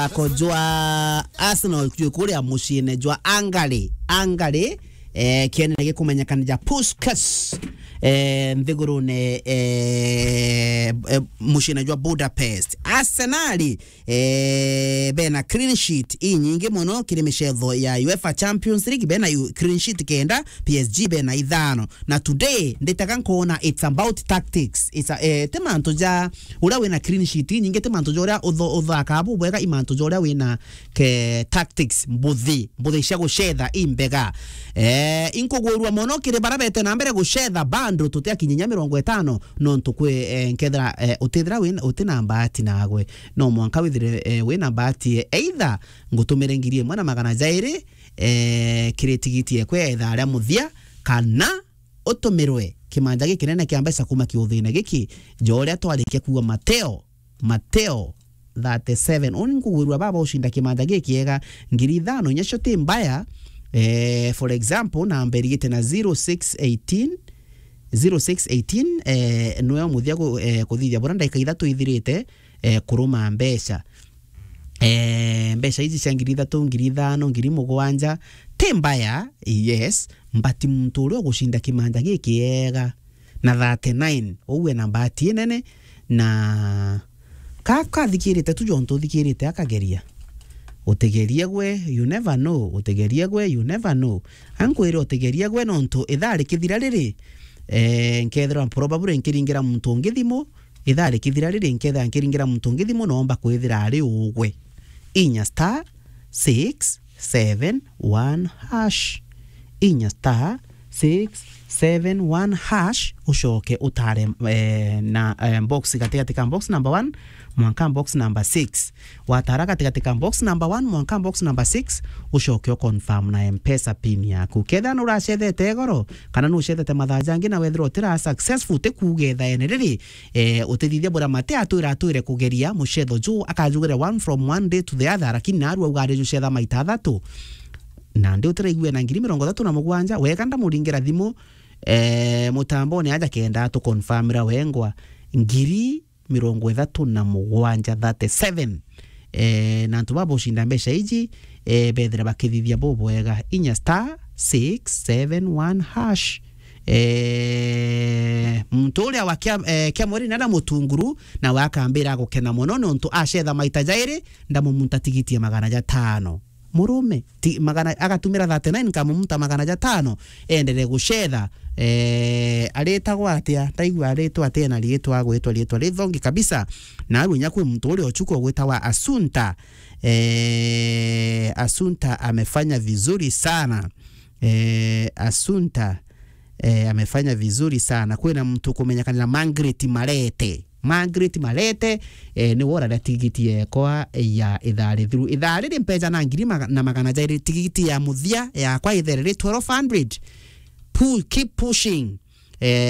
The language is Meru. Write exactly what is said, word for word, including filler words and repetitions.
muthako jwa Arsenal jwi kuria muciine jwa Hungary, Hungary, eh, kienene gikumenyekana ja Puskas, eh, nthigurune, eh, eh, muciine jwa Budapest. Arsenal, eh, bena clean sheet inyingi mono kiri micetho ya UEFA Champions League, bena yu-, clean sheet kenda, P S G bena ithano. Na today, nditaga nkona it's about tactics. It's a, eh, ti mantu ja uria wina clean sheet inyingi, ti mantu ja uria utho-, uthakaa bubwega, i mantu ja uria wina ke tactics mbuthi, mbuthi cia gucetha imbega. Eh, inkugwirua mono kiri bara bete na mbere gucetha bando tutiakinyinya mirongo itano, nontu kwi, eh, nkethira, eh, utithira win-, utina mbati nagwe. No mwanka withire, eh, wina mbati, eh, either ngutumire ngiri imwe na magana jairi, eh, kiri tigiti ekwe ya ithaa ria muthia, kana utumirwe kimanja gikinene kia mbeca kuma kiuthine giki, ja uria twarikia kuuga Mateo, Mateo thirty-seven. Uni nkugwirua baba ucinda kimanja gikiega, ngiri ithano inya cio ti mbaya. Eh, for example, namba irigite na zero six eighteen, zero six eighteen, eh, niwe muthia ku-, eh, kuthithia buria ndaika ithatu ithirite, eh, kuruma mbeca. Eh, mbeca iji cia ngiri ithatu, ngiri ithano, ngiri mugwanja, ti mbaya, yes, but muntu uria ugucinda kimanja gikiega na thirty-nine, uwe na mbati inene, na ka-, kathikirite tu jontu uthikirite akageria. Utigerie gwe, you never know, utigerie gwe, you never know. Ankwire utigerie gwe nontu ithaa rikithira riri, eh, nkethirwa probably nkiringira muntu ungi thimu, ithaa rikithira riri nkethira nkiringira muntu ungi thimu, noomba kwithira ari ugwe. Inya star six seven one hash. Inya star six seven one hash, ucoke utare, eh, na, eh, box gatigati ka box number one mwanka box number six. Watara gatigati ka box number one mwanka box number six, ucoke u confirm na M-Pesa pin yaku. Kethira nuracethete igoro, kana nucethete mathaa jangi na wethirwa utira successful, ti kuuga ithaene riri, eh, utithithia buria Mate atwira atwire kugeria mucetho juu, akajugira one from one day to the other, lakini naarua auga ari jucetha maita athatu. Nandi utiraigua na ngiri mirongo ithatu na mugwanja, wega ndamuringira thimu, eh, mutambone aja kenda atuconfirmira wengwa ngiri mirongo ithatu na mugwanja, thirty-seven. Eh, na antu baba ucinda mbeca iji, eh, bethira bakithithia bubwega, inya star six seven one hash. Eh, muntu uria wa kia, eh, kia mweri nana mutunguru, nawe akambira agukena mono, nontu acetha maita jairi, ndamumunta tigiti ya magana jatano. Murume, ti, magana, agatumira thirty-nine, nkamumunta magana jatano, enderee gucetha. Eh, aritagwa atia? Ndaigua aritwa atia na riitwa, agwitwa riitwa rithongi kabisa. Na arua inya kwi muntu uria uchuku ugwitawa Asunta. Eh, Asunta amefanya vizuri sana. Eh, Asunta, eh, amefanya vizuri sana. Kwina muntu kumenyekanira Margaret Marete. Margaret Marete, eh, niwe uraria tigiti yekwa ya ithaa rithiru. Ithaa riri mbeca na ngiri maga-, na magana jairi, tigiti ya muthia yakwa ithereri twelve hundred. Pu-, keep pushing. Eh,